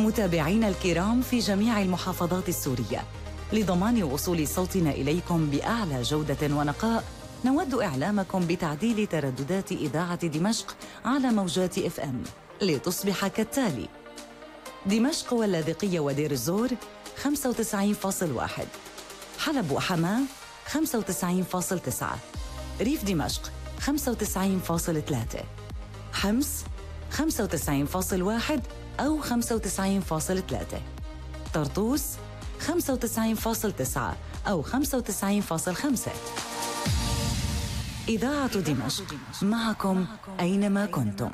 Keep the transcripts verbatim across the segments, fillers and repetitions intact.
متابعينا الكرام في جميع المحافظات السورية، لضمان وصول صوتنا إليكم بأعلى جودة ونقاء، نود إعلامكم بتعديل ترددات إذاعة دمشق على موجات إف إم لتصبح كالتالي: دمشق واللاذقية ودير الزور خمسة وتسعين فاصل واحد، حلب وحماة خمسة وتسعين فاصل تسعة، ريف دمشق خمسة وتسعين فاصل ثلاثة، حمص خمسة وتسعين فاصل واحد أو خمسة وتسعين فاصل ثلاثة، طرطوس خمسة وتسعين فاصل تسعة أو خمسة وتسعين فاصل خمسة. إذاعة دمشق معكم أينما كنتم.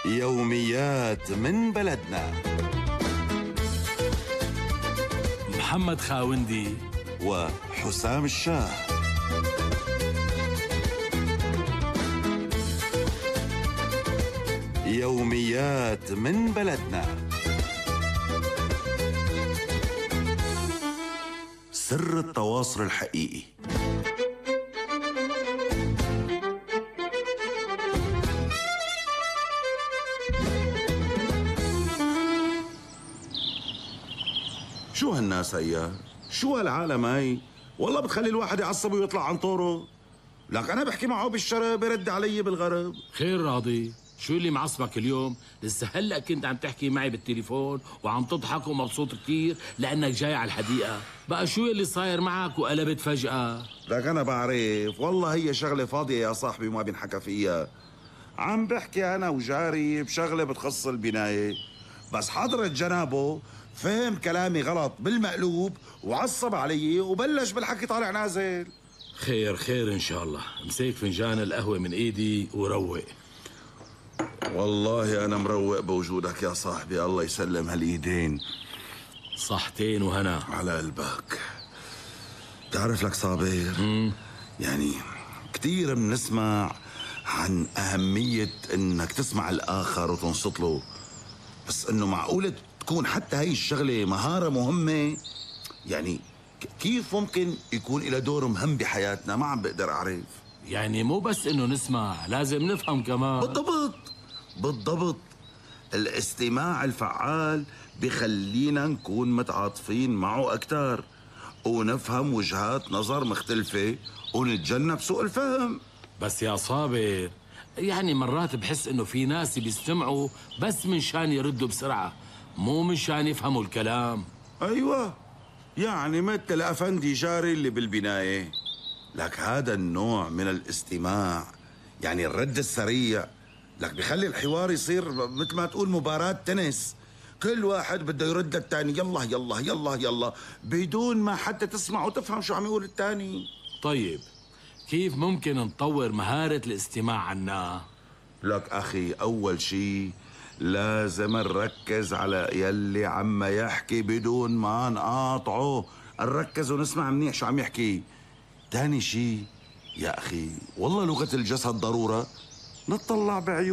يوميات من بلدنا. محمد خاوندي وحسام الشاه. يوميات من بلدنا. سر التواصل الحقيقي. شو هالناس هيا؟ شو هالعالم هاي؟ والله بتخلي الواحد يعصب ويطلع عن طوره. لك أنا بحكي معه بالشرق برد علي بالغرب. خير راضي، شو اللي معصبك اليوم؟ لسه هلأ كنت عم تحكي معي بالتليفون وعم تضحك ومبسوط كتير لأنك جاي على الحديقة. بقى شو اللي صاير معك وقلبت فجأة؟ لك أنا بعرف، والله هي شغلة فاضية يا صاحبي وما بينحكى فيها. عم بحكي أنا وجاري بشغلة بتخص البناية، بس حضرة جنابه فهم كلامي غلط بالمقلوب وعصب علي وبلش بالحكي طالع نازل. خير خير إن شاء الله. امسك فنجان القهوة من إيدي وروق. والله أنا مروق بوجودك يا صاحبي، الله يسلم هالإيدين. صحتين وهنا على قلبك. تعرف لك صابر، مم. يعني كتير بنسمع عن أهمية إنك تسمع الآخر وتنصت له، بس إنه معقولة تكون حتى هاي الشغلة مهارة مهمة؟ يعني كيف ممكن يكون إلى دور مهم بحياتنا؟ ما عم بقدر أعرف. يعني مو بس إنه نسمع، لازم نفهم كمان. بالضبط بالضبط. الاستماع الفعال بخلينا نكون متعاطفين معه أكتر ونفهم وجهات نظر مختلفة ونتجنب سوء الفهم. بس يا صابر، يعني مرات بحس إنه في ناس بيستمعوا بس من شان يردوا بسرعة، مو من شان يفهموا الكلام. أيوة، يعني مثل أفندي جاري اللي بالبناية. لك هذا النوع من الاستماع، يعني الرد السريع، لك بخلي الحوار يصير مثل ما تقول مباراة تنس، كل واحد بده يرد الثاني يلا يلا يلا يلا بدون ما حتى تسمع وتفهم شو عم يقول الثاني. طيب كيف ممكن نطور مهارة الاستماع عنا؟ لك أخي، أول شي لازم نركز على يلي عم يحكي بدون ما نقاطعه، نركز ونسمع منيح شو عم يحكي. تاني شي يا أخي، والله لغة الجسد ضرورة، نطلع بعيون